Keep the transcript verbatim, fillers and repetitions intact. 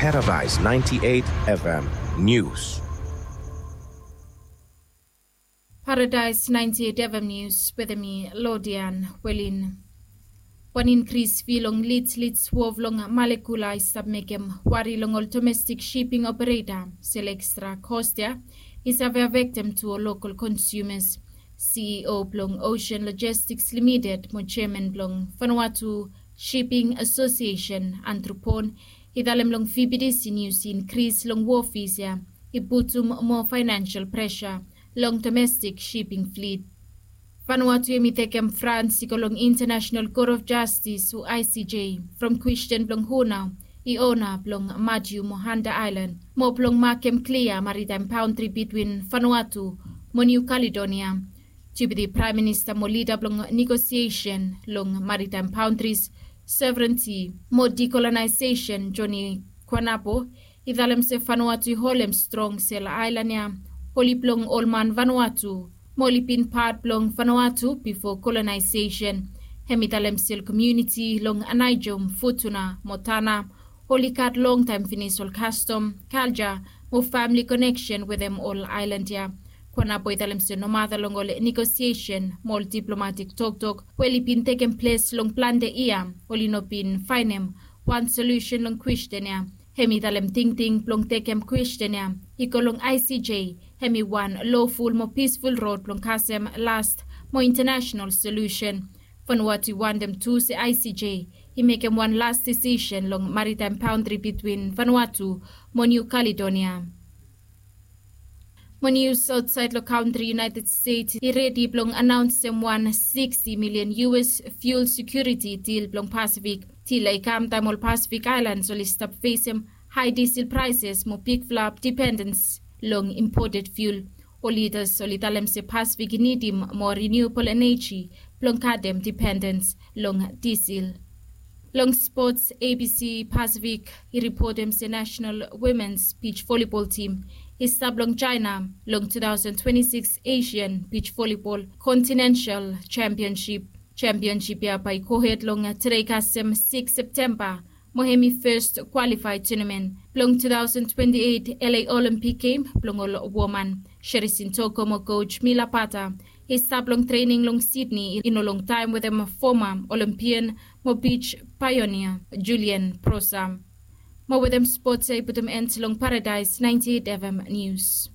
Paradise ninety-eight F M News. Paradise ninety-eight F M News wetem mi Lodian Welin. Wan inkris fi long lit lit wov long malekula i stap mekem wari long ol domestik shiping opereta. Sel ekstra kos ya i save afektem tu ol lokal konsumas. C E O blong Ocean Logistics Limited mo chairman blong Vanuatu Shipping Association Andrew Pon i talem long V B D C News i inkris long wofis ya i putum moa fainansial presa long domestik shiping flit. Vanuatu hem i tekem frans i go long International Court of Justice o I C J from kwestin blong hu nao i ona blong Matiu mo Hanta Aelan mo blong makem klia maritaem baontri bitwin Vanuatu mo Niu Kaledonia. Deputi Praem Minista mo lida blong negosiesen long maritaem baontris, sovereniti mo dikolonaiseisen Joni Kuanapo i talem se Vanuatu i holem strong sel aelan ya oli blong ol man Vanuatu mo oli bin pat blong Vanuatu bifo kolonaisesen. Hem i talem sel komuniti long Anaijom, Futuna mo Tana oli gat longtaem finis ol kastom, kalja mo famili koneksen wetem ol aelan ya. Kuanapo i talem se nomata long ol negosiesen mo ol diplomatik toktok we oli bin tekem ples long plante yia oli no bin faenem wan solusen long kwestin ya. Hem i talem tingting blong tekem kwestin ya i go long I C J hem i wan loful mo pisful rod blong kasem las mo intanasenal solusen. Vanuatu i wantem tu se I C J i mekem wan las disisen long maritaem baontri bitwin Vanuatu mo Niu Kaledonia. Mo nius aotsaed long kantri United States i redi blong anaonsem wan sixty million U S fuel security deal blong Pasifik. Deal ya i kam taem ol Pasifik aelans oli stap fesem hae diesel praeses mo bigfala dipendens long imported fuel. Ol lidas oli talem se Pasifik i nidim moa renewable energy blong katem dipendens long diesel. Long spots, A B C Pasifik i ripotem se National Women's Beach Volleyball Team i stap long China long two thousand twenty-six Asian Beach Volleyball Continental Championship. Championship ya bae i gohed long tede kasem six Septemba mo hem i fes kwalifae tunamen blong two thousand twenty-eight L A Olympic Game blong ol woman. Sherisin Toko mo coach Mila Pata i stap long trening long Sydney i no longtaem wetem foma Olympian mo beach pionia Julian Prosa. Mo wetem spots ya i putum end long Paradise ninety-eight F M News.